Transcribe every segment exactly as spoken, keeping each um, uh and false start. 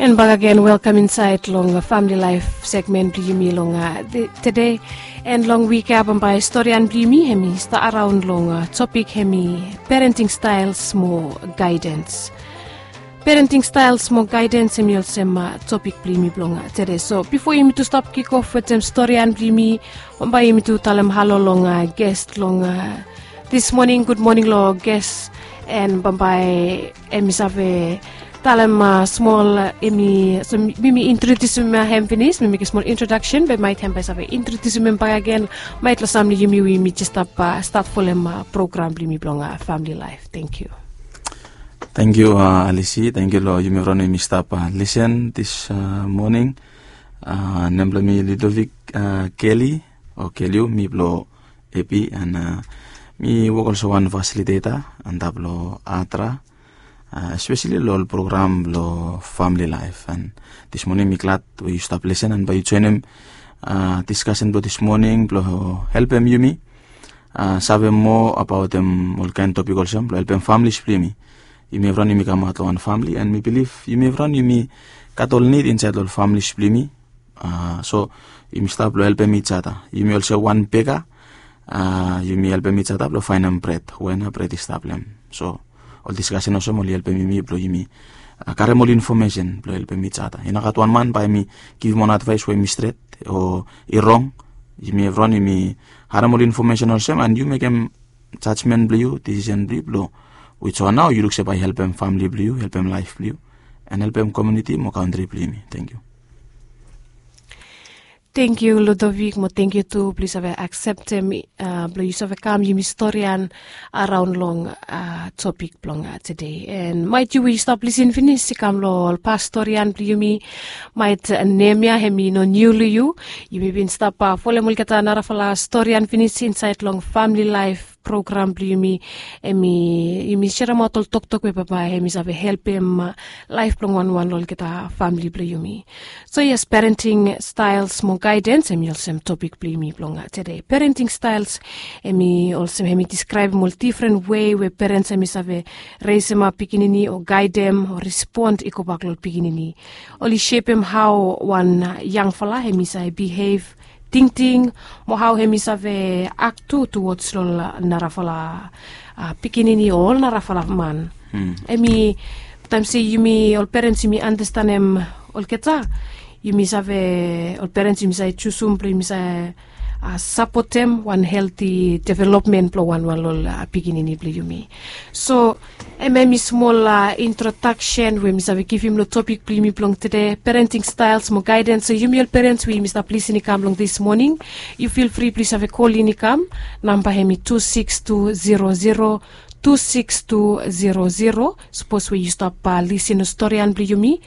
And bakagen, welkam insaed long famili laef segmen blong yumi long tede. And long wik ya bambae storian blong yumi hemi stap araon long topik hemi parenting staels mo gaedens. Parenting staels mo gaedens hemi olsem topik blong yumi blong tede. So bifo yumi tu stap kikof wetem storian blong yumi, bambae yumi tu talem halo long ges long dis moning. Gud moning long ges. And bambae hemi save talem smol, hemi so mi mi introdiusim hem finis, mi mekem smol introdaksen be maet hem bae save introdiusim hem bakagen. Maet long sam long yumi we yumi jes stap stat folem program blong yumi blong famili laef. Tangkiu. Tangkiu, Alisi. Tangkiu long yumi evriwan we yumi stap lisen dis moning. Nem blong mi Ludovic Kelly o Keliu, mi blong Epi, and mi wok olsem wan fasiliteta antap long Atra, espeseli long ol program blong famili laef. And dis moning mi glad we yu stap lisen and bae yu joenem diskasen blong dis moning blong helpem yumi save moa abaotem olkaen topik olsem blong helpem familis blong yumi. Yumi evriwan yumi kamaot long wan famili, and mi bilif yumi evriwan yumi gat ol nid insaed long ol familis blong yumi. So yumi stap long helpem ijada. Yumi olsem wan bega, yumi helpem ijada blong faenem bred we nao bred i stap long hem. So ol diskasen olsem oli helpem yumi blong yumi karem ol infomesen blong helpem ijada. I no gat wan man bae hemi givim wan advaes we hemi stret o i rong. Yumi evriwan yumi harem ol infomesen olsem, and yu mekem jajmen blong yu, disisen blong yu blong wij wan nao yu luk se bae i helpem famili blong yu, helpem laef blong yu, and helpem komuniti mo kantri blong yumi. Tangkiu. Tangkiu Ludovic, mo tangkiu tu blong yu save akseptem blong yu save kam yumi storian araon long topik blong tede. And maet yu we yu stap lisen finis i kam long ol pas storian blong yumi, maet nem ya hemi no niu long yu. Yumi bin stap folem olgeta narafala storian finis insaed long famili laef program blong yumi. Hemi yumi seremaot ol toktok we bambae hemi save helpem laef blong wanwan long olgeta famili blong yumi. So yes, parenting staels mo gaedens hemi olsem topik blong yumi blong tede. Parenting staels hemi olsem hemi diskraebem ol difren wei we perens hemi save resemap pikinini o gaedem o respon i gobak long pikinini. Oli sepem hao wan yangfala hemi save bihev, tingting, mo hao hemi save ak tu tuwods long narafala pikinini o ol narafala man. Hemi taem se yumi ol perens yumi andastanem olgeta, yumi save, ol perens yumi save jusum blong yumi save sapotem wan helti developmen blong wanwan long ol pikinini blong yumi. So hemia hemi smol introdaksen we mi save givim long topik blong yumi blong tede, parenting staels mo gaedens. So yumi ol perens we yumi stap lisen i kam long dis moning, yu fil fri blong yu save kol in i kam. Namba hemi tu siks tu zero zero tu siks tu zero zero. Sapos we yu stap lisen long storian blong yumi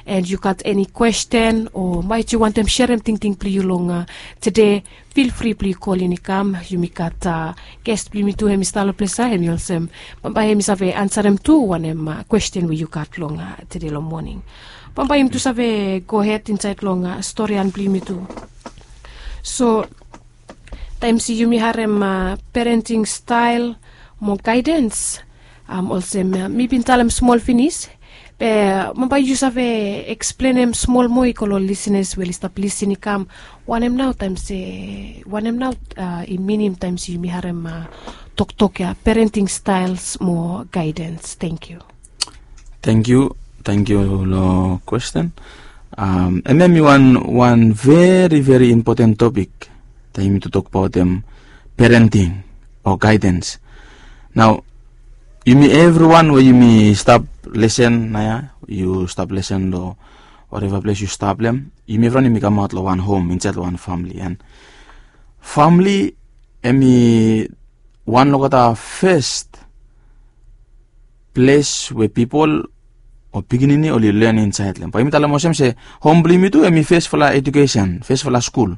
and yu gat eni kwesten o maet yu wantem serem tingting blong yu long tede, fil fri blong yu kol in i kam. Yumi gat ges blong yumi tu hemi stap long ples ya, hemi olsem bambae hemi save ansarem tu wanem kwesten we yu gat long tede long moning. Bambae yumi tu save gohed insaed long storian blong yumi tu. So taem se yumi harem parenting stael mo gaedens, olsem mi bin talem smol finis, be bambae yu save eksplenem smol moa i go long ol lisenas we oli stap lisen i kam wanem nao taem se, wanem nao i minim taem se yumi harem toktok ya, parenting staels mo gaedens. Tangkiu. Tangkiu. Tangkiu long kwesten. Hemia hemi wan, wan veri veri impoten topik taem yumi tu tokbaotem parenting o gaedens. Nao yumi evriwan we yumi stap lisen naoia, yu stap lisen long wareva ples yu stap long hem, yumi evriwan yumi kamaot long wan hom insaed long wan famili. And famili hemi wan long olgeta fes ples we pipol o pikinini oli len insaed long hem. Bae yumi talem olsem se hom blong yumi tu hemi fesfala ejukesen, fesfala skul.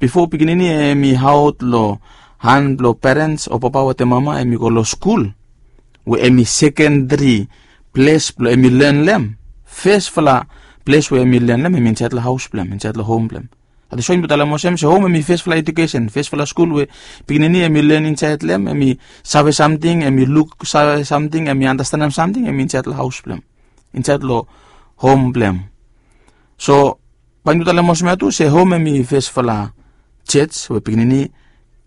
Bifo pikinini hemi aot long han blong perens o papa wetem mama, hemi go long skul we hemi sekendri ples blong hemi len long hem. Fesfala ples we hemi len long hem hemi insaed long haos blong hem, insaed long hom blong hem. That is why yumi talem olsem se hom hemi fesfala ejukesen, fesfala skul we pikinini hemi len insaed long hem, hemi save samting, hemi luksave samting, hemi andastanem samting, hemi insaed long haos blong hem, insaed long hom blem. So bae yumi tu talem olsem ya tu se hom hemi fesfala jej we pikinini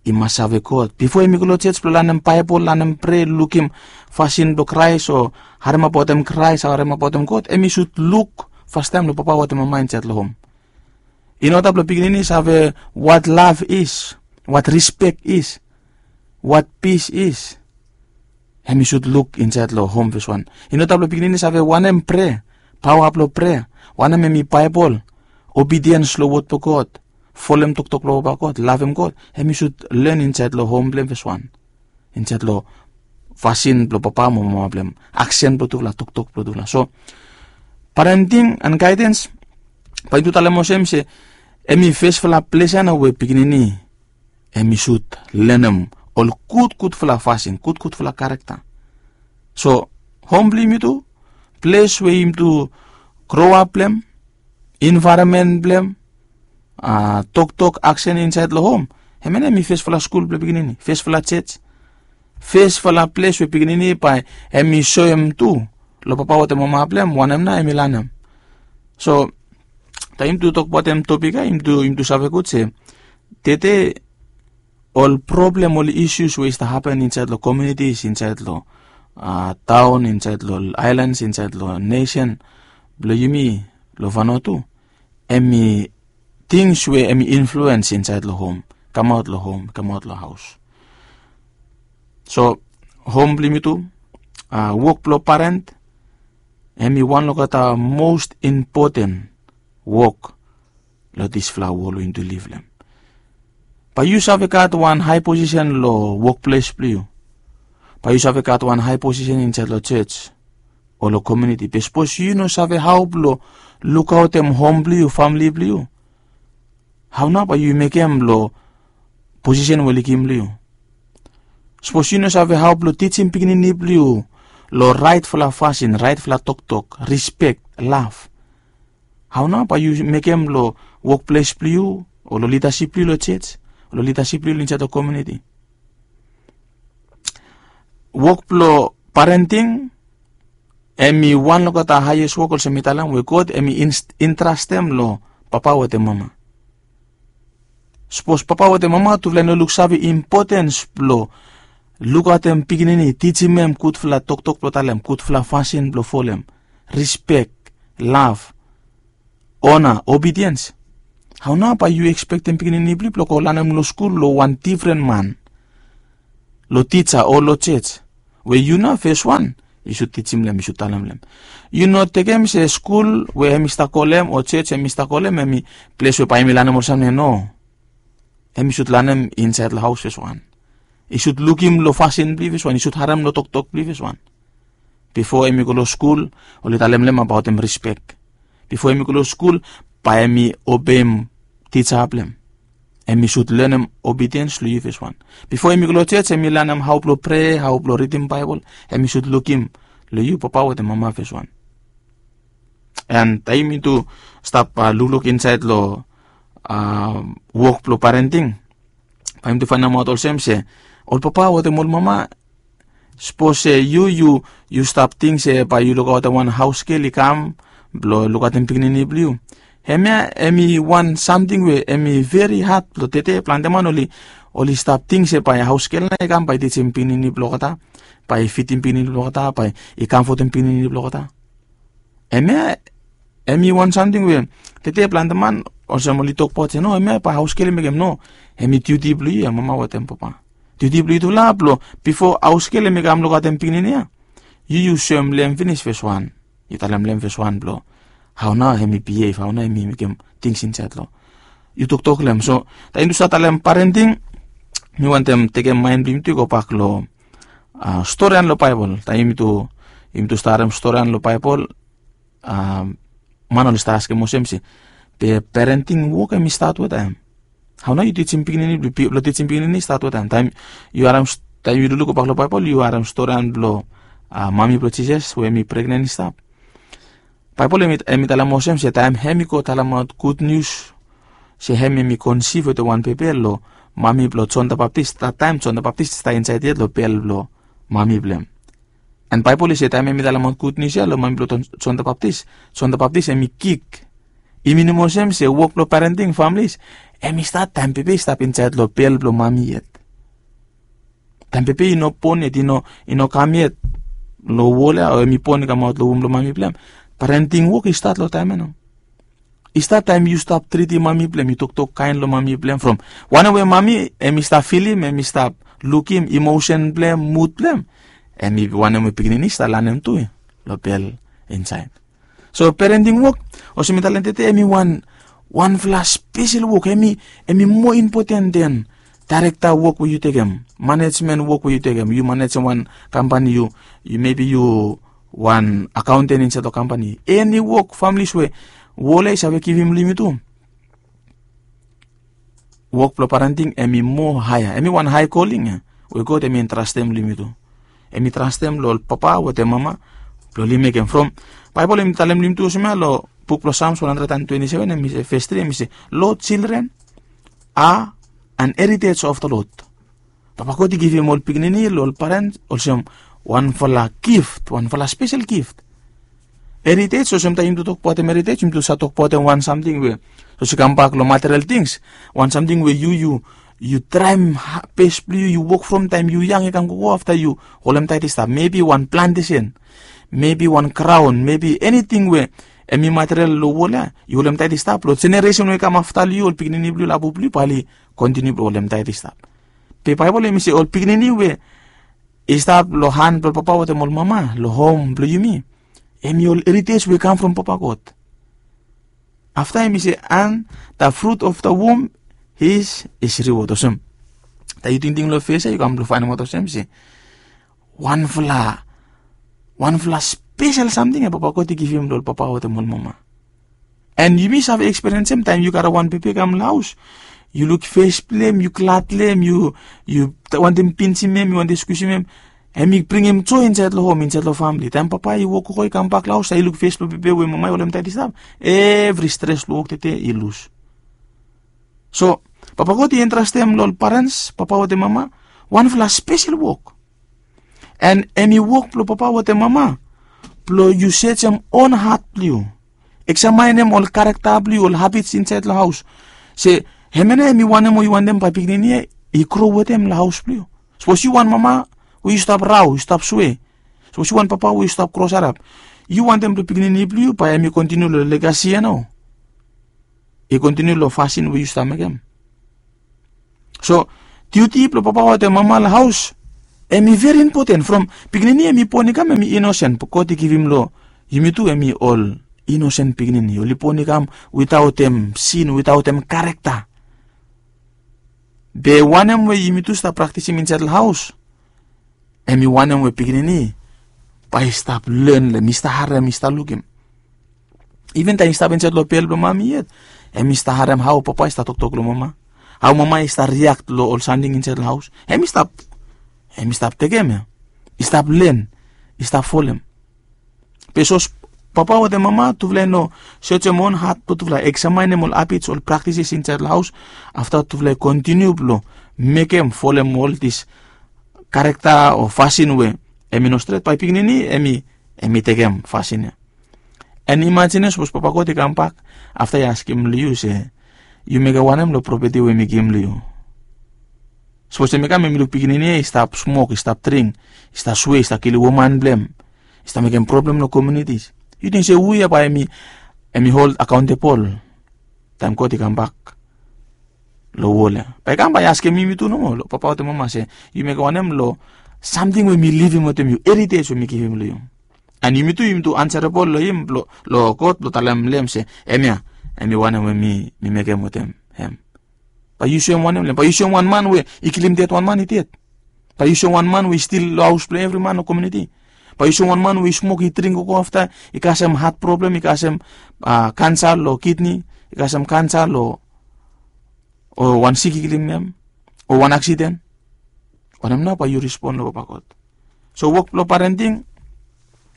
i mas save God bifo hemi go long jej blong lanem Baebol, lanem prea, lukim fasin blong Kraes o haremabaotem Kraes, haremabaotem God. Hemi sud luk fastaem long papa wetem mama insaed long hom. I no gat blong pikinini save wat lav is, wat rispek is, wat pis is. Hemi sud luk insaed long hom feswan. I no gat blong pikinini save wanem prea, paoa blong prea, wanem hemi Baebol, obidiens long wod blong God, folem toktok blong papa God, lavem God. Hemi sud len insaed long hom blem feswan, insaed long fasin blong papa mo mama blem, aksen blong tufala, toktok blong tufala. So parenting and gaedens, bae yumi tu talem olsem se hemi fesfala ples ya nao we pikinini hemi sud lenem ol gudgudfala fasin, gudgudfala karekta. So hom blong yumi tu, ples we yumi tu groap blem, envaeronmen blem, toktok, aksen insaed long hom, hemia nao hemi fesfala skul blong pikinini, fesfala jej, fesfala ples we pikinini bae hemi soem tu long papa wetem mama blem wanem nao hemi lanem. So taem yumi tu tokbaotem topik ya, yumi tu save gud se tede ol problem, ol isius we i stap hapen insaed long komiunitis, insaed long taon, insaed long aelans, insaed long nesen blong yumi long Vanuatu, hemi tings we hemi influens insaed long hom, kamaot long hom, kamaot long haos. So hom blong yumi tu, wok blong paren, hemi wan long olgeta most impoten wok long disfala wol we yumi tu liv long hem. Bae yu save gat wan hae posisen long wokples blong yu. Bae yu save gat wan hae posisen insaed long jej o long komiuniti. Be sapos yu no save hao blong lukaotem hom blong yu, famili blong yu, hao nao bae yu mekem long posisen we oli givim long yu? Sapos yu no save hao blong tijim pikinini blong yu long raetfala fasin, raetfala toktok, rispek, lav, hao nao bae yu mekem long wokples blong yu o long lidasip blong yu long jej o long lidasip blong yu insaed long komiuniti? Wok blong parenting hemi wan long olgeta haes wok, olsem mi talem, we God hemi intrastem long papa wetem mama. Sapos papa wetem mama tufala i no luksave impotens blong lukaotem pikinini, tijim hem gudfala toktok blong talem, gudfala fasin blong folem, rispek, lav, ona, obidiens, hao nao bae yu ekspektem pikinini blong yu blong go lanem long skul long wan difren man, long tija o long jej, we yu nao feswan yu sud tijim long hem, yu sud talem long hem? Yu no tekem se skul we hemi stap go long hem o jej hemi stap go long hem hemi ples we bae hemi lanem ol samting ya. No. Hemi sud lanem insaed long haos feswan. I sud lukim long fasin blong yu feswan, i sud harem long toktok blong yu feswan. Bifo hemi go long skul, oli talem long hem abaotem rispek. Bifo hemi go long skul, bae hemi obeim tija blong hem. Hemi sud lenem obidiens long yu feswan. Bifo hemi go long jej hemi lanem hao blong prea, hao blong ridim Baebol. Hemi sud lukim long yu papa wetem mama feswan. An taem yumi tu stap lukluk insaed long wok blong parenting, bae yumi tu faenemaot olsem se ol papa wetem ol mama, sapos se yu, yu stap ting se bae yu lukaotem wan haos gel i kam blong lukaotem pikinini blong yu, hemia hemi wan samting we hemi veri had blong tede. Plante man oli, oli stap ting se bae haos gel nao i kam bae i tijim pikinini blong olgeta, bae i fidim pikinini blong olgeta, bae i kamfotem pikinini blong olgeta. Hemia hemi wan samting we tede plante man olsem oli tokbaot se no, hemia bae haos gel i mekem. No. Hemi diuti blong yu ya, mama wetem papa. Diuti blong yutufala blong bifo haos gel hemi kam lukaotem pikinini ya, yu, yu soem long hem finis feswan. Yu talem long hem feswan blong hao nao hemi bihev, hao nao hemi mekem tings insaed long, yu toktok long hem. So taem yumi tu stap talem parenting, mi wantem tekem maen blong yumi tu i gobak long storian long Baebol. Taem yumi tu, yumi tu stap harem storian long Baebol, man oli stap askem olsem se, be parenting wok hemi stat wetaem? Hao nao yu tijim pikinini, blong tijim pikinini i stat wetaem? Taem yu harem, taem yu lukluk gobak long Baebol yu harem storian blong mami blong Jisas we hemi pregnen i stap. Baebol hemi talem olsem se taem hemi go talemaot gudnius se hem hemi konsif wetem wan bebe long mami blong Jon the Baptist, taem Jon the Baptist i stap insaed yet long bel blong mami blong hem. And Baibel i se taem em i talemaot gud nius ya long mami blong Jon the Baptist, Jon the Baptist em i kik. I minim olsem se wok blong parenting families em i stat taem pepe i stap insaed long bel blong mami yet. Taem pepe i no bon yet, i no i no kam yet long wol ya, o em i bon i kamaot long wom blong mami blong em, parenting wok i stat long taem ya nao. I stap taem yu stap tritim mami blong em, yu toktok kaen long mami blong em, from wanem we mami em i stap filim, em i stap lukim, emosen blong em, mud blong em, em i wanem we pikinini i stap lanem tu long bel insaed. So parenting wok, olsem mi talem tede, em i wan wanfala spesel wok, em i em i moa impoten den daerekta wok we yu tekem, manejmen wok we yu tekem, yu manejem wan kampani, yu yu mebi yu wan akaonten insaed long kampani, eni wok, familis we wol ya i save givim long yumi tu. Wok blong parenting em i moa haea, em i wan hae koling ya we God em i entrastem long yumi tu. Em i trastem long ol papa wetem mama blong oli mekem. From Baibel em i talem long yumi tu olsem ya long buk blong Psalms one hundred and twenty-seven, em i se, ves tri, em i se, Lord, children are an heritage of the Lord. Papa God i givim ol pikinini long ol parents olsem wanfala gift, wanfala spesel gift. Heritage, olsem taem yumi tu tokbaotem heritage, yumi tu save tokbaotem wan samting we, sapos i kambak long material tings, wan samting we yu yu yu traem bes blong yu, yu wok from taem yu yang i kam gogo, afta yu holemtaet i stap. Mebi wan plantesen, mebi wan graon, mebi eniting we em i material long wol ya, yu holemtaet i stap. Long jeneresen we i kam afta long yu, ol pikinini blong yu, labu blong yu, bae oli kontiniu blong holemtaet i stap. Be Baibel em i se ol pikinini we i stap long han blong papa wetem ol mama long hom blong yumi, em i ol heritage we i kam from Papa God. Afta em i se, and the fruit of the womb is his reward, olsem. Taem yu tingting long ves ya, yu kam blong faenemaot olsem se wanfala, wanfala spesel samting ya Papa God i givim long ol papa wetem ol mama. And yumi save ekspiriensem taem yu karem wan bebe i kam long haos, yu luk ves blong em, yu glad long em, yu yu wantem pinsim em, yu wantem skwisim em. Em i bringim joe insaed long hom, insaed long famili. Taem papa i wok gogo i kambak long haos, taem i luk ves blong bebe we mama i holemtaet i stap, evri stres blong wok tede i lus. So Papa God i entrastem long ol parents, papa wetem mama, wanfala spesel wok. And em i wok blong papa wetem mama blong yu sejem on hat blong yu, eksamaenem ol karakta blong yu, ol habits insaed long haos, se hemia nao em i wanem we yu wantem bae pikinini ya i gro wetem long haos blong yu. Sapos yu wan mama we yu stap rao, yu stap swe, sapos yu wan papa we yu stap krosarap, yu wantem blong pikinini blong yu bae em i kontiniu long legasi ya nao, i kontiniu long fasin we yu stap mekem. So diuti blong papa wetem mama long haos em i veri impoten. From pikinini em i bon i kam em i inosen, be God i givim long yumi tu em i ol inosen pikinini, oli bon i kam witaotem sin, witaotem karakta. Be wanem we yumi tu stap praktisim insaed long haos, em i wanem we pikinini bae i stap len long em, i stap harem, i stap lukim. Iven taem i stap insaed long bel blong mami yet, em i stap harem hao papa i stap toktok long mama, hao mama i stap riak long ol samting insaed long haos. Em i stap, em i stap tekem ya, i stap len, i stap folem. Be sapos papa wetem mama tufala i no sejem on hat blong tufala, eksamaenem ol habits, ol praktises insaed long haos, afta tufala i kontiniu blong mekem, folem ol dis karakta o fasin we em i no stret, bae pikinini em i, em i tekem fasin ya. And imajinem sapos Papa God i kambak afta i askem long yu se, yu mekem wanem long propeti we mi givim long yu? Sapos em i kam, em i luk pikinini ya i stap smok, i stap dring, i stap swe, i stap kilim woman blong em, i stap mekem problem long komuniti. Yu ting se hu ya bae em i, em i hold accountable taem God i kambak long wol ya? Bae i kam bae i askem yumi tu nomo, long papa wetem mama se, yu mekem wanem long samting we mi livim wetem yu, heritage we mi givim long yu? And yumi tu, yumi tu ansarabol long him, long, long God, blong talem long hem se, hemia em i wanem we mi, mi mekem wetem hem. Bae yu soem wanem long hem? Bae yu soem wan man we i kilim ded wan man i ded? Bae yu soem wan man we i stil long haos blong evri man long komuniti? Bae yu soem wan man we i smok, i dring gogo, afta i kasem hat problem, i kasem, a, kansa long kidni, i kasem kansa long, o wan sik i kilim hem, o wan aksiden? Wanem nao bae yu respon long Papa God? So wok blong parenting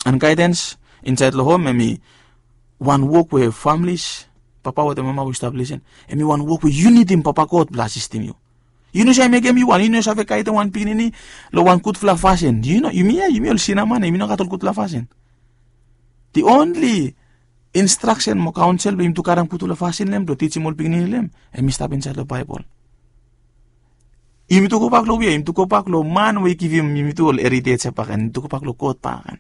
and gaedens insaed long hom, hem i wan wok we familis, papa wetem mama we yu stap lisin, hem i wan wok we yu nidim Papa God blong asistim yu. Yu no save mekem yu wan, yu no save gaidem wan pikinini long wan gudfala fasin. Yu no, yumi ya, yumi ol sina man ya, yumi no gat ol gudfala fasin. The only instraksen mo kaonsel blong yumitu karem gudfala fasin long hem blong tijim ol pikinini long hem, hemi stap insaed long Baebol. Yumitu gobak long we ya? Yumitu gobak long man we i givim yumitu ol eritej ya bakegen. Yumitu gobak long God bakegen.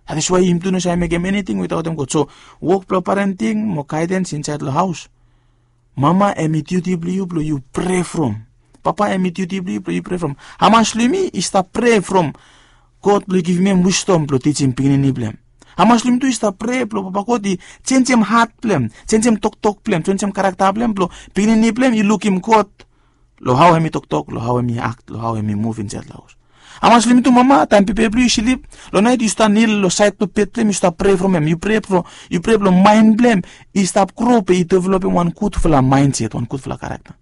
That is why yumitu no save mekem eniting witaotem God. So wok blong parenting mo gaedens insaed long haos, mama, hemi diuti blong yu blong yu prea from. Papa, hemi diuti blong yu blong yu prea from. Hamas long yumi i stap prea from God blong i givim hem wisdom blong tijim pikinini blong hem? Hamas long yumi tu i stap prea blong Papa God i jenjem hat blong hem, jenjem toktok blong hem, jenjem karakta blong hem, blong pikinini blong hem i lukim God long hao hemi toktok, long hao hemi akt, long hao hemi muv insaed long haos? Hamas long yumi tu mama, taem bebe blong yu i slip, long naet yu stap nil long saed blong bed blong hem, yu stap prea from hem, yu prea blong, yu prea blong maen blong hem i stap gro be i developem wan gudfala maenset, wan gudfala karakta?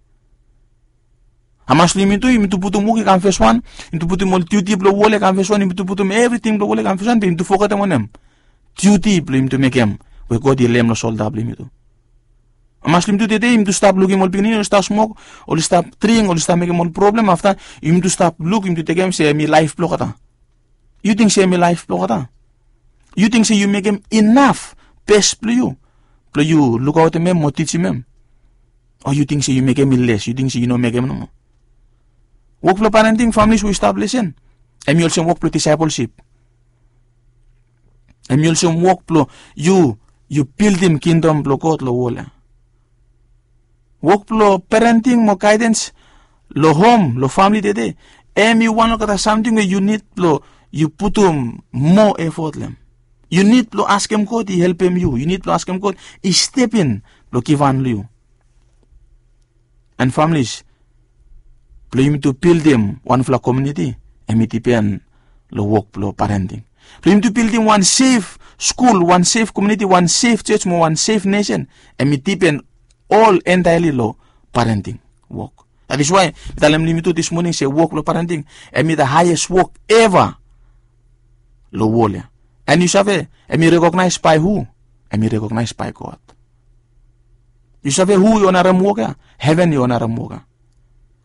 Hamas long yumi tu, yumi tu putum wok i kam feswan, yumi tu putum ol diuti blong wol ya i kam feswan, yumi tu putum evriting blong wol ya i kam feswan, be yumi tu fogetem wanem? Diuti blong yumi tu mekem we God i leem long solda blong yumi tu. Hamas long yumi tu tede yumi tu stap lukim ol pikinini oli stap smok, oli stap dring, oli stap mekem ol problem, afta yumi tu stap luk, yumi tu tekem se hemi laef blong olgeta. Yu ting se hemi laef blong olgeta? Yu ting se yu mekem inaf bes blong yu blong yu lukaotem hem mo tijim hem? O yu ting se yu mekem i les, yu ting se yu no mekem nomo? Wok blong parenting, families we yu stap lisen, hemi olsem wok blong disaepolsip. Hemi olsem wok blong yu, yu bildim kingdom blong God long wol ya. Wok blong parenting mo gaedens long hom, long famili tede, hemi wan olgeta samting we yu nid blong yu putum moa efot long hem. Yu nid blong askem God i helpem yu. Yu nid blong askem God i step in blong givhan long yu. And families, blong yumitu bildim wanfala komuniti, hemi dipen long wok blong parenting. Blong yumitu bildim wan sef skul, wan sef komuniti, wan sef jos mo wan sef nesen, hemi dipen ol entaeli long parenting wok. That is why mi talem long yumitu dis moning se wok blong parenting hemi the highest wok eva long wol ya. And yu save, hemi rekognaes bae hu? Hemi rekognaes bae God. Yu save hu i onarem wok ya? Heven i onarem wok ya.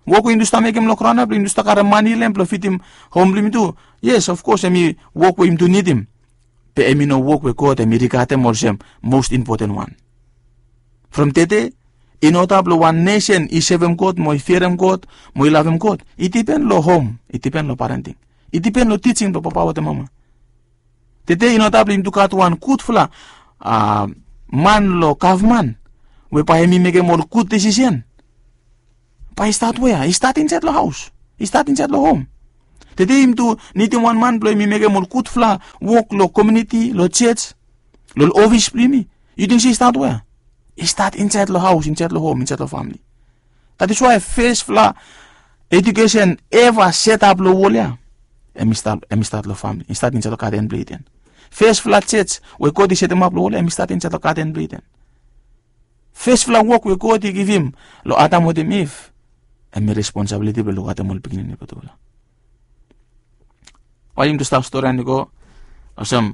Wok we yumitu stap mekem long graon ya blong yumitu stap karem mane long hem blong fidim hom blong yumitu, yes, of course, hemi wok we yumitu nidim. Be hemi no wok we God hemi rigadem olsem most important wan. From tede, in order blong wan nesen i sevem God mo i fiarem God mo i lavem God, i dipen long hom, i dipen long parenting, i dipen long tijing blong papa wetem mama. Tede in order blong yumitu gat wan gudfala, a, man long gavman we bae hemi mekem ol gud desisen, bae i stat wea? I stat insaed long haos, i stat insaed long hom. Tede yumitu nidim wan man blong hemi mekem ol gudfala wok long komuniti, long jos, long ol ofis blong yumi. Yu ting se i stat wea? I stat insaed long haos, insaed long hom, insaed long famili. That is why fesfala ejukesen eva setap long wol ya, hemi stat, hemi stat long famili, i stat insaed long gaden blong Iden. Fesfala jos we God i setemap long wol ya, hemi stat insaed long gaden blong Iden. Fesfala wok we God i givim long Adam wetem Iv, hemi responsabiliti blong lukaotem ol pikinini blong tufala. Bae yumi tu stap storian i go. Olsem,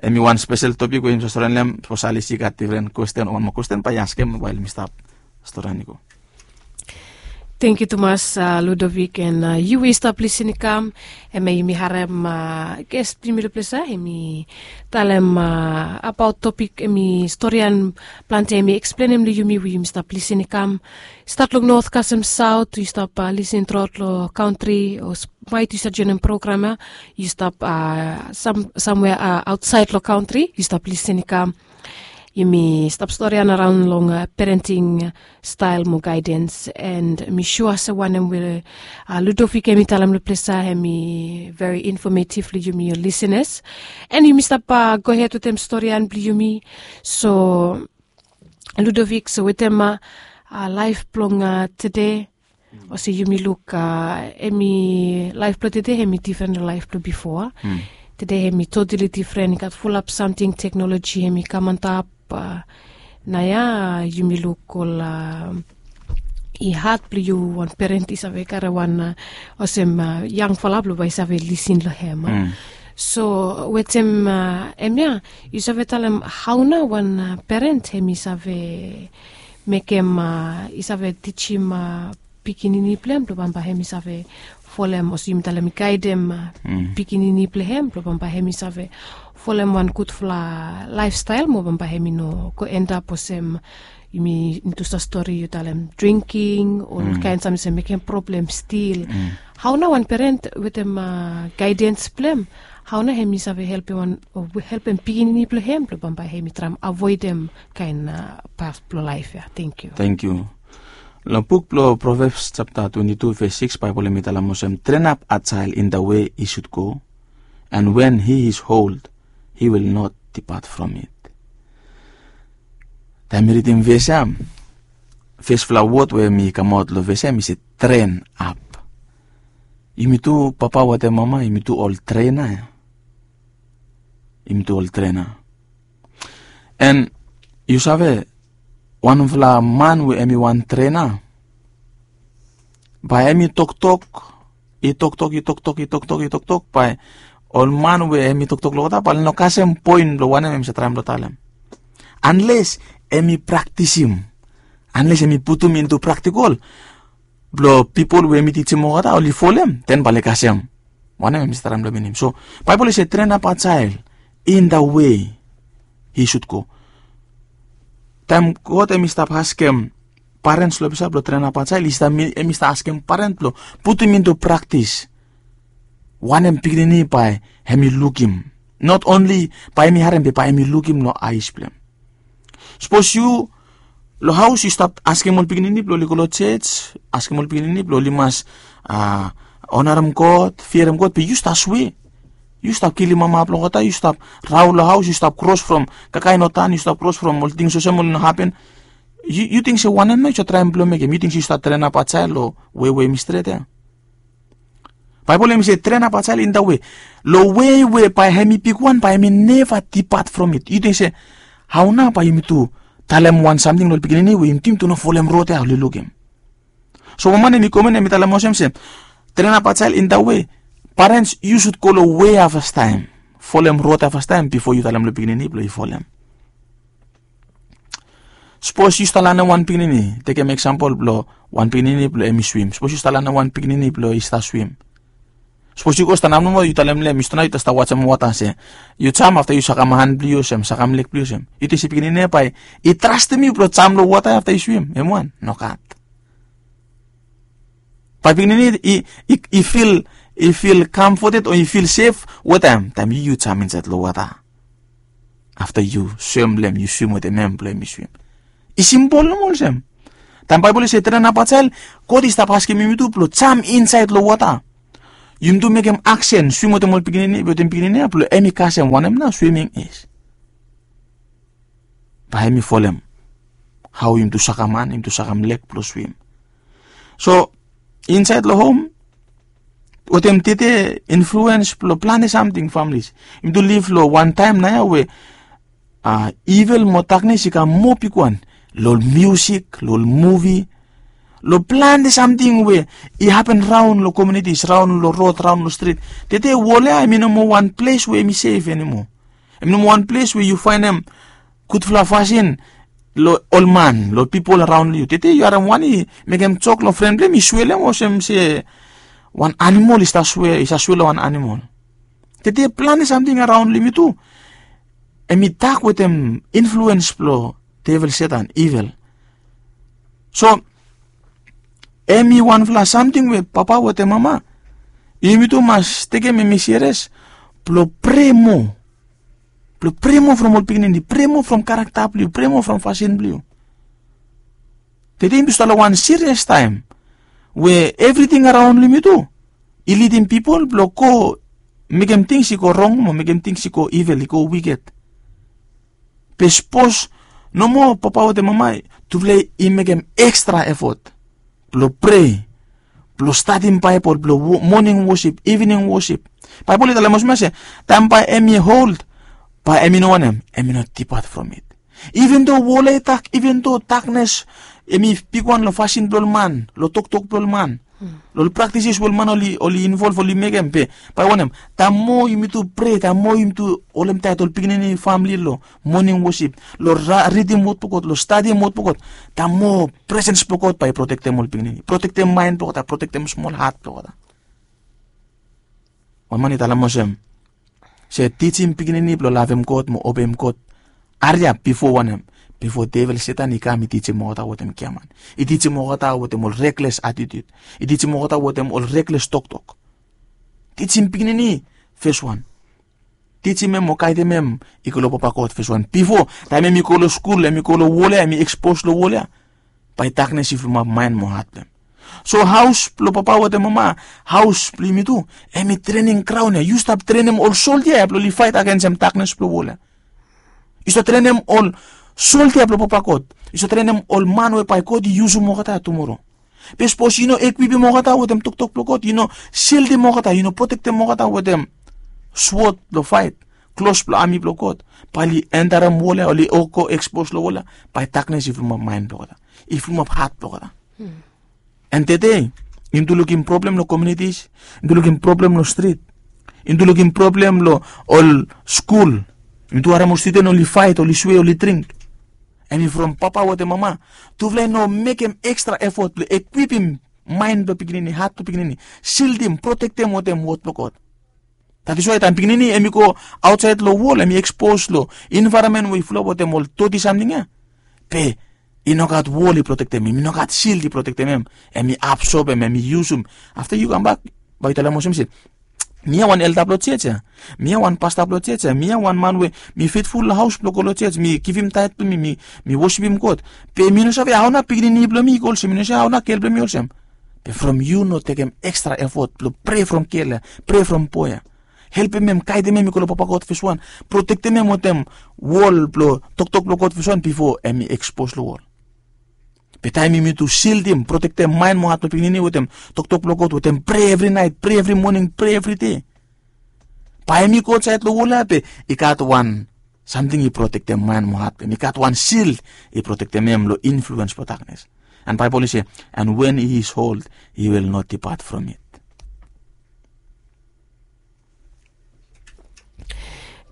hemi wan spesel topik we yumi save storian long hem. Sapos Alice i gat difren kwesten o wan moa kwesten, bae i askem wael yumi stap storian i go. Tangkiu tumas, a, Ludovic, and, a, yu we yu stap lisin i kam, hemia yumi harem, a, ges blong yumi long ples ya, hemi talem, a, abaot topik, hemi storian plante, hemi eksplenem long yumi we yumi stap lisin i kam. Stat long not kasem saot, yu stap, a, lisin truaot long kantri, o maet yu stap joenem program ya, yu stap, a, sam, samwea, a, aotsaed long kantri, yu stap lisin i kam. Yumi stap storian araon long, a, parenting stael mo gaedens, and mi sua se wanem we, a, Ludovic hemi talem long ples ya, hemi veri infometief long yumi ol lisenas. And yumi stap, a, gohed wetem storian blong yumi. So Ludovic, so wetem, a, a, laef blong, a, tede, olsem yumi luk, a, hemi laef blong tede hemi difren long laef blong bifo. Tede hemi totali difren, i gat fulap samting, teknoloji hemi kam antap, a, naoia yumi luk ol, a, i had blong yu wan peren i save karem wan, a, olsem, a, yangfala blong bae i save lisin long hem, a. So wetem, a, hemia, yu save talem hao nao wan, a, peren hemi save mekem, a, i save tijim, a, pikinini blong hem blong bambae hem i save folem, olsem yumi talem, i gaedem pikinini blong hem blong bambae hem i save folem wan gudfala laefstael mo bambae hem i no go endap olsem yumi, tu stori yu talem drinking o kaen samting se mekem problem stil. Hao nao wan peren wetem gaedens blong hem, hao nao hem i save helpem wan o helpem pikinini blong hem blong bambae hem i traem avoedem kaen paf blong laef ya? Tengkiu. Tengkiu. Long buk blong Proverbs japta twenti tu ves sikis, Baebol hem i talem olsem, "Train up a child in the way he should go, and when he is old, he will not depart from it." Taem mi ridim ves ya, fesfala wod we hem i kamaot long ves ya hem i se train up. Yumi tu papa wetem mama, yumi tu ol trena ya. Yumi tu ol trena. An yu save, wanfala man we hem i wan trena, bae hem i toktok, i toktok, i toktok, i toktok, i toktok, bae ol man we hem i toktok long olgeta bae oli no kasem poen blong wanem hem i save traem blong talem. Anles hem i praktisim, anles hem i putum intu praktikol blong pipol we hem i tijim olgeta oli folem, den bae oli kasem wanem hem i save traem blong minim. So Baebol i se, "Train up a child in the way he should go." Taem God hem i stap askem parens long olgeta blong traen ap a jael, hem i stap askem paren blong putum intu praktis wanem pikinini bae hem i lukim. Not only bae hem i harem, be bae hem i lukim long aes blong hem. Sapos yu long haos yu stap askem ol pikinini blong oli go long jos, askem ol pikinini blong oli mas onarem God, fiarem God, be yu stap swe. Yu stap kilim mama blong olgeta, yu stap raon long haos, yu stap kros from kakae no tan, yu stap kros from ol tings olsem oli no hapen. Yu ting se wanem nao yu save traem blong mekem? Yu ting se yu stap traen ap a jael long wei we hem i stret ya? Baebol hem i se traen ap a jael in da wei, long wei we bae hem i bigwan bae hem i neva dipat from it. Yu ting se hao nao bae yumi tu talem wan samting long ol pikinini we yumi ting tu no folem rod ya oli lukim? So wan man hem i komen hem i talem olsem se traen ap a jael in da wei, parens yu sud go long wei ya fastaem, folem rod ya fastaem bifo yu talem long pikinini blong yu folem. Sapos yu stap lanem wan pikinini, tekem eksampol blong wan pikinini blong hem i swim. Sapos yu stap lanem wan pikinini blong i stap swim. Sapos yu go stanap nomo yu talem long hem, yu stanap yu stap wajem wota se yu jam afta yu sakam han blong yu olsem, sakam leg blong yu olsem. Yu ting se pikinini ya bae i trastem yu blong jam long wota ya afta yu swim? Hem wan nogat. Bae pikinini i fil, i fil kamfoted o i fil sef wetem taem yu yu jam insaed long wota. Afta yu swem long hem, yu swim wetem hem blong hem i swim. I simpol nomo olsem. Taem Baebol i se traen ap a jael, God i stap askem yumi tu blong jam insaed long wota. Yumi tu mekem aksen, swim wetem ol pikinini, wetem pikinini ya blong hem i kasem wanem nao swiming is. Bae hem i folem hao yumi tu sakam han, yumi tu sakam leg blong swim. So insaed long hom wetem tede influens blong plante samting, familis. Yumi tu liv long wan taem nao ya we ivel mo daknes i kam moa bigwan long ol miusik, long ol muvi, long plante samting we i hapen raon long komunitis, raon long rod, raon long strit. Tede wol ya hem i no moa wan ples we hem i sef animo. Hem i no moa wan ples we yu faenem gudfala fasin long ol man, long pipol araon long yu. Tede yu harem wan i mekem jok long fren blong hem, i swe long hem olsem se wan animol i stap swe, i stap swe long wan animol. Tede plante samting araon long yumi tu hem i dak wetem influens blong devel, Setan, ivel. So hem i wanfala samting we papa wetem mama yumi tu mas tekem hem i serias blong prea moa. Blong prea moa from ol pikinini, prea moa from karakta blong yu, prea moa from fasin blong yu. Tede yumi tu stap long wan serias taem we evriting araon long yumi tu i lidim pipol blong go mekem tings i go rong mo mekem tings i go ivel, i go wiked. Be sapos nomo papa wetem mama tufala i mekem ekstra efot blong prea, blong stadim Baebol, blong moning wosip, ivning wosip. Baebol i talem olsem ya se taem bae hem i old, bae hem i no wanem, hem i no dipat from it. Iven do wol ya i dak, iven do daknes hem i bigwan long fasin blong ol man, long toktok blong ol man, Long ol praktisis we ol man oli involv oli mekem. Be bae wanem? Taem moa yumitu prea, taem moa yumitu holem taet ol pikinini famili long moning wosip, long ridim wod blong God, long stadim wod blong God, taem moa presens blong God bae i protektem ol pikinini, protektem maen blong olgeta, protektem smol hat blong olgeta. Wan man i talem olsem, se tijim pikinini blong lavem God mo obeim God hariap bifo wanem? Bifo devil Setan i kam i tijim olgeta wetem giaman, i tijim olgeta wetem ol rekles atitut, i tijim olgeta wetem ol rekles toktok. Tijim pikinini, fes wan. Tijim hem mo gaedem hem i go long Papa God, fes wan. Bifo, taem hem i go long skul, hem i go long wol ya, hem i ekspos long wol ya, bae daknes i fulumap maen mo hat blong hem. So haos blong papa wetem mama, haos blong yumi tu, hem i trening graon ya. Yu stap trenem ol soldia ya blong oli faet agensem daknes blong wol ya. Yu stap trenem ol soldia blong Papa God. Yu stap trenem ol man we bae God i yusum olgeta tumoro. Be sapos yu no ekwipim olgeta wetem toktok blong God, yu no sildim olgeta, yu no protektem olgeta wetem swod blong faet, klos blong ami blong God, bae oli entarem wol ya, oli go ekspos long wol ya, bae daknes i fulumap maen blong olgeta, i fulumap hat blong olgeta. An tede yumi tu lukim problem long komunitis, yumi tu lukim problem long strit, yumi tu lukim problem long ol skul. Yumi tu harem ol studen oli faet, oli swe, oli dring. Hem i from papa wetem mama, tufala i no mekem ekstra efot blong ekwipim maen blong pikinini, hat blong pikinini, sildim, protektem wetem wod blong God. That is why taem pikinini hem i go aotsaed long wol, hem i ekspos long envaeronmen we i fulap wetem ol doti samting ya, be i no gat wol i protektem hem, i no gat sild i protektem hem. Hem i absobem, hem i yusum. Afta yu kambak, bae yu talem olsem se, mi ya wan elda blong jos ya, mi ya wan pasta blong jos ya, mi ya wan man we mi fetful long haos blong go long jos, mi givim taet blong mi, mi wosipim God. Be mi no save hao nao pikinini blong mi i go olsem, mi no save hao nao gel blong mi olsem. Be from yu no tekem ekstra efot blong prea from gel ya, prea from boe ya, helpem hem, gaedem hem i go long Papa God fes wan, protektem hem wetem wol blong toktok blong God fes wan bifo hem i ekspos long wol. Be taem yumi tu sildim, protektem maen mo hat blong pikinini wetem toktok blong God, wetem prea evri naet, prea evri moning, prea evri dei, bae hem i go aotsaed long wol ya be i gat wan samting i protektem maen mo hat blong hem, i gat wan sil i protektem hem long influens blong daknes. An Baebol i se, and when he is old, he will not depart from it.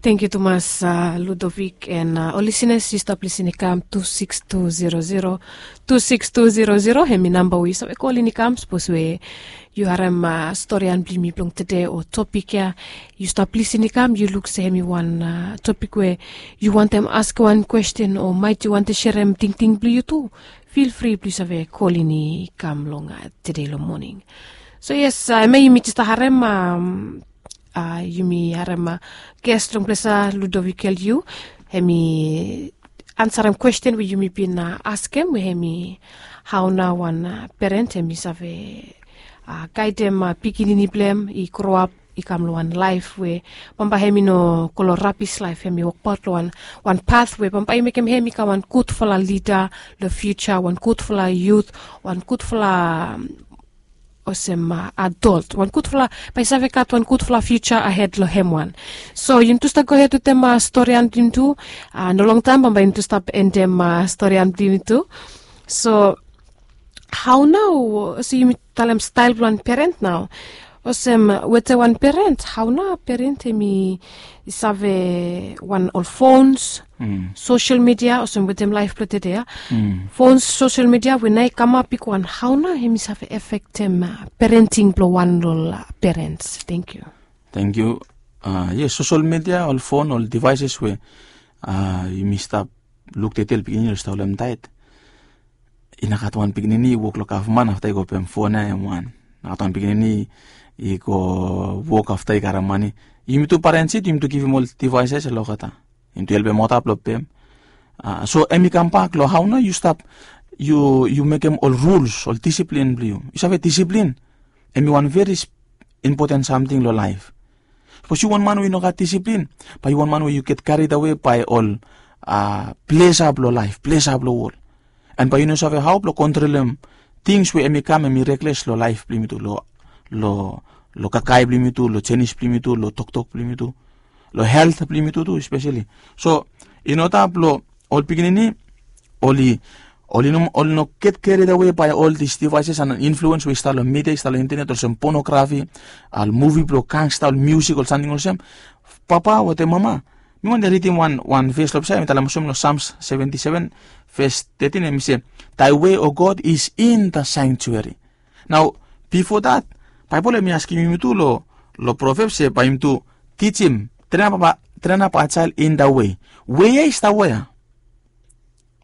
Tangkiu tumas, Ludovik, an ol lisenas, yu stap lisin i kam tu sikis tu zero zero, tu sikis tu zero zero, hemi namba we yu save kolin i kam sapos we yu harem storian blong yumi blong tede o topik ya. Yu stap lisin i kam, yu luk se hemi wan topik we yu wantem askem wan kwesten o maet yu wantem serem tingting blong yu tu, fil fri blong yu save kolin i kam long tede long moning. So yes, hemia yumi jes harem, yumi harem ges long ples ya, Ludovik Eliu, hemi ansarem kwesten we yumi bin askem, we hemi hao nao wan peren hemi save gaedem pikinini blong hem i groap i kam long wan laef we bambae hemi no go long rabis laef, hemi wokbaot long wan, wan pat we bambae i mekem hem i kam wan gudfala lida long fiuja, wan gudfala yut, wan gudfala, olsem, adolt, wan gudfala, bae i save gat wan gudfala fiuja ahed long hem wan. So yumi tu stap gohed wetem storian blong yumi tu. No longtaem bambae yumi tu stap endem storian blong yumi tu. So hao nao, olsem yumi talem stael blong wan peren nao. Olsem wetem wan peren, hao nao peren hemi save wan ol fons, sosel midia, olsem wetem laef blong tede ya. Fons, sosel midia we nao i kamap bigwan, hao nao hemi save efektem perenting blong wan long ol perens. Tangkiu. Tangkiu. Yes, sosel midia, ol fon, ol devaeses we yumi stap luk tede, ol pikinini oli stap holem taet. I no gat wan pikinini i wok long gavman afta i go pem fon ya hem wan. No gat wan pikinini i go wok afta i karem mane. Yumi tu parens yet yumi tu givim ol devaeses long olgeta. Yumi tu helpem olgeta blong pem. So hemi kambak long hao nao yu stap, yu, yu mekem ol ruls, ol disiplin blong yu. Yu save disiplin hemi wan veri impoten samting long laef. Sapos yu wan man we yu no gat disiplin, bae yu wan man we yu get kared awe bae ol plesa blong laef, plesa blong wol. An bae yu no save hao blong kontrolem tings we hemi kam hemi rekles long laef blong yumi tu, long, long, long kakae blong yumi tu, long jenis blong yumi tu, long toktok blong yumi tu, long helt blong yumi tu tu espeseli. So in oda blong ol pikinini oli, Oli no oli no get carried away by all these devices and influence we i stap long media, i stap long internet, olsem pornography, ol muvi blong gangsta, ol music, ol samting olsem. Papa wetem mama, mi wantem ridim wan wan ves long pesa, mi talem olsem long Psalms seventy-seven, ves thirteen, em i se, "Thy way, O God, is in the sanctuary." Nao, bifo dat, Baibel em i askim yumi tu long long Proverbs se bae yumi tu tijim, train up a train up a child in the way. We ya i stap wea?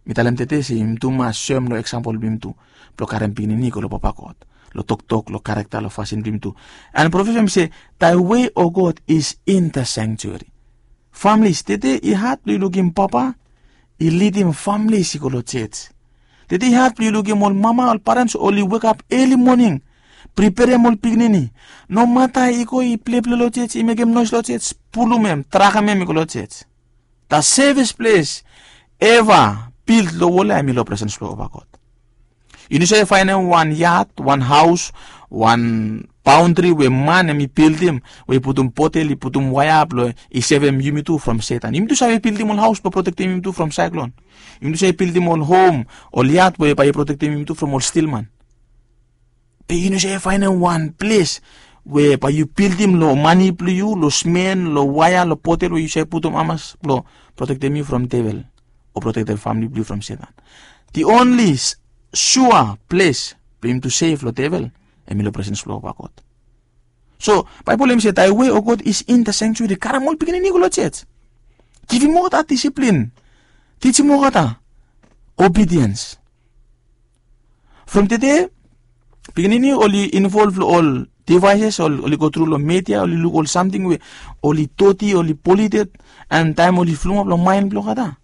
Mi talem tede se yumi tu mas soem long eksampol blong yumi tu blong karem pikinini i go long Papa God, long toktok, long karakta, long fasin blong yumi tu. And Proverbs em i se, "Thy way, O God, is in the sanctuary." Families, tede i had blong yu lukim papa i lidim families i go long church. Tede i had blong yu lukim ol mama, ol parents oli wekap eli moning, preperem ol pikinini. Nomata i go i pleple long church, i mekem noes long church, pulum em, trakem em i go long church. The safest place ever built long wol ya em i long presens blong Papa God. Yu no save faenem wan yad, wan haos, wan baondri we man em i bildim, we i putum potel, i putum waea blong i sevem yumi tu from Setan. Yumi tu save bildim ol haos blong protektem yumi tu from saeklon. Yumi tu save bildim ol hom, ol yad we bae i protektem yumi tu from ol stilman. Be yu no save faenem wan ples we bae yu bildim long mane blong yu, long smen, long waea, long potel we yu save putum hamas blong protektem yu from devel o protektem famili blong yu from Setan. The only sua ples blong yumi tu sef long devel em i long presens blong Papa God. So Baibel em i se, "Thy way, O God, is in the sanctuary." Karem ol pikinini i go long church. Givim olgeta disiplin. Tijim olgeta obedience. From tede pikinini oli involve long ol devices, oli go tru long media, oli luk ol samting we oli doti, oli polluted, and taem oli flumap long maen blong olgeta,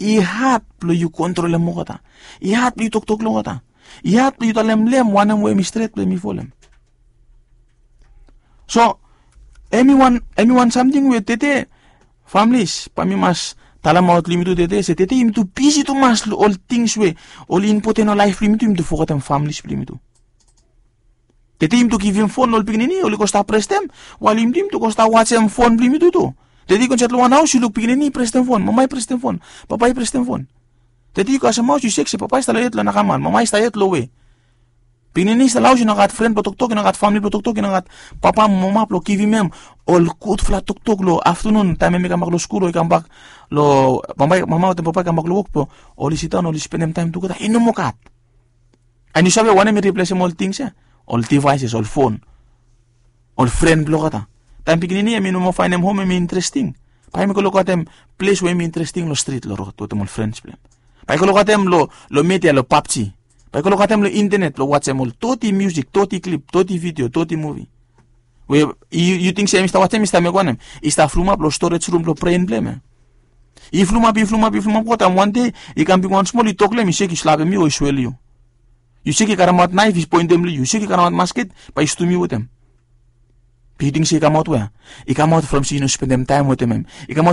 i had blong yu kontrolem olgeta. I had blong yu toktok long olgeta. I had blong yu talem long em wanem we em i stret blong em i folem. So em i wan em i wan samting we tede, families, bae mi mas talemaot long yumi tu tede se tede yumi tu bisi tumas long ol tings we oli impoten long laef blong yumi tu, yumi tu fogetem families blong yumi tu. Tede yumi tu givim fon long ol pikinini, oli go stap prestem, wael yumi tu yumi tu go stap wajem fon blong yumi tu tu. Tede yu go insaed long wan haos, yu luk pikinini i prestem fon, mama i prestem fon, papa i prestem fon. Tede yu go kasemaos, yu sek se papa i stap long yet long nakamal, mama i stap yet long we. Pikinini i stap long haos, i no gat fren blong toktok, i no gat famili blong toktok, i no gat papa mo mama blong givim hem ol gudfala toktok long aftenun taem hem i kambak long skul o i kambak long, mama wetem papa i kambak long wok blong oli sidaon oli spendem taem tugeta, i no moa gat. And yu save wanem i riplesem ol tings ya? Ol devices, ol fon, ol fren blong olgeta. Taem pikinini hem i no moa faenem hom hem i interesting, bae hem i go lukaotem ples we hem i interesting long strit, long rod wetem ol frens blong hem. Bae i go lukaotem long media, long PUBG. Bae i go lukaotem long internet blong wajem ol doti musik, doti klip, doti vidio, doti muvi. We yu ting se hem i stap wajem, i stap mekem wanem? I stap flumap long storage rum blong bren blong hem ya. I flumap, i flumap, i flumap, go taem wan dei i kam bigwan smol, i tok long hem, i sek i slapem yu o i swel yu. Yu sek i karemaot naef i poentem long yu, yu sek i karemaot masket bae i stum yu wetem. Be yu ting se i kamaot wea? I kamaot from se yu no spendem taem wetem hem. I kamaot